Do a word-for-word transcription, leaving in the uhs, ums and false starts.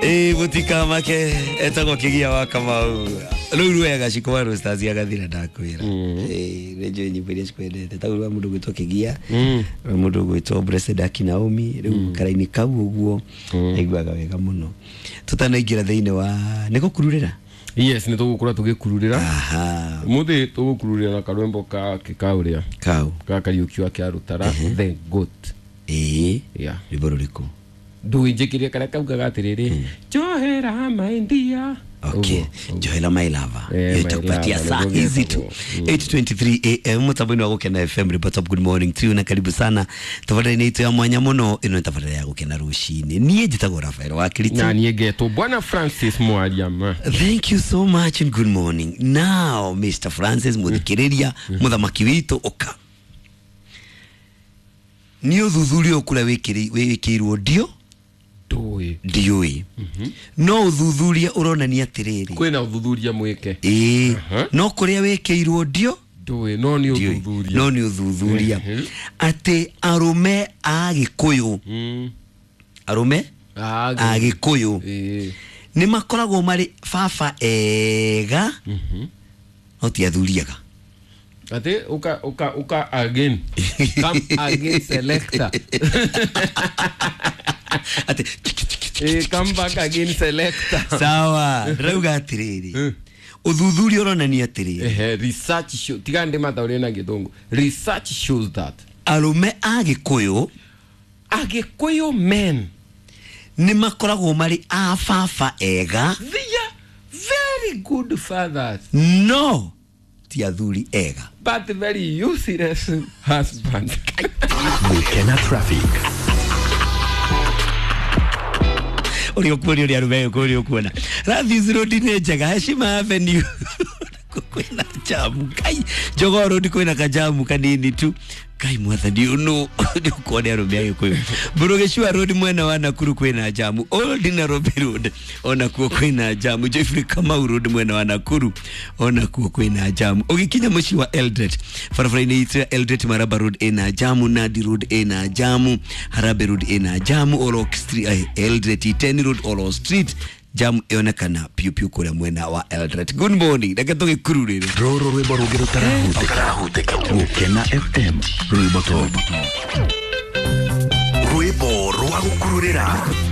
Ĩ mũtikamake etagwo Kĩgia wa Kamau rĩu wega cikwa Roosters agathira ndakwĩra. Ĩ nĩ njũĩ nyĩmbo iria cikwendete ta rwa mũndũ gwĩtwo Kĩgia, rwa mũndũ gwĩtwo Blessed Akinaomi rĩu karaini kau ũguo aiguaga wega mũno. Tũtanaingĩra thĩinĩ wa nĩ gũkururĩra. Yes, nĩ tũgũkorwo tũgĩkururĩra. Aha. Ũmũthĩ tũgũkururĩra na karwĩmbo ka kĩkaũrĩa kau ka Kariũki wa Kĩarũtara, The Goat. Ĩ Yeah. rwĩmbo rũrĩkũ? Ndũnjĩkĩrie karĩa kaugaga atĩrĩrĩ, njohera my dear. Okay, Joela my lover. Eh, my Itakupatia lover, saa nĩguo hizi tu gĩtagwo. eight twenty-three A M mutambo-inĩ wa Gũkena F M. Report up, good morning to you na karibu sana tabarĩra-inĩ itũ ya mwanya mũno. Ĩno nĩ tabarĩra ya Gũkena rũcinĩ. Niĩ njĩtagwo Rafael wa Kiriti na niĩ ngetwo Bwana Francis Mwariama. Thank you so much and good morning. Now Mister Francis muthikĩrĩria mũthamaki witũ ũka nĩ ũthuthuria ũkũrĩa wĩkĩirwo ndio ndũĩ ndiũĩ no ũthuthuria ũronania atĩrĩrĩ kwĩna ũthuthuria mwĩke. Ĩĩ Aha. no kũrĩa wĩkĩirwo ndio ndũĩ no nĩ ndiũĩ ũthuthuria no nĩ ũthuthuria Mhm. atĩ arũme a Gĩkũyũ Mm. arũme Ah, a Gĩkũyũ ĩĩ. nĩ makoragwo marĩ baba ega no ti athuri ega. Ati uka uka uka again, come again selector. Atĩ Eh, come back again selector. Sawa, ndĩrauga atĩrĩrĩ ũthuthuria ũronania atĩrĩrĩ Ehe, research show tiga ndĩ mataũrĩ na gĩthũngũ, research shows that arũme a Gĩkũyũ Agĩkũyũ men nĩ makoragwo marĩ a baba ega they are very good fathers no ti athuri ega but very useless husbands. Gũkena traffic. Ũrĩa ũkuona ũrĩa arũme gĩkũyũ ũrĩa ũkuona Rathis Road nĩ njega, Heshima Avenue kwĩna jamu, Ngai Jogoo Road kwĩna kajamu kanini tu, Ngai mwathani ũnũ nĩ ũkuona arũme a Gĩkũyũ. Mbũrũgĩcua Road mwena wa Nakuru kwĩna jamu, Old Nairobi Road onakuo kwĩna jamu, Jeffrey Kamau Road mwena wa Nakuru onakuo kwĩna jamu. Ũgĩkinya mũciĩ wa Eldoret barabara-inĩ itũ ya Eldoret Maraba Road ĩna jamu, Nandi Road ĩna jamu, Harambee Road ĩna jamu, Olok Street, eh, Eldoret Iten Road, Olok Street jamu ĩonekana piũ piũ kũrĩa mwena wa Eldoret. Good morning, reke tũgĩkururĩre Rũrũ rwĩmbo rũngĩ rũtarahutĩka. Gũkena F M rwĩmbo top. Rwĩmbo rwa gũkururĩra.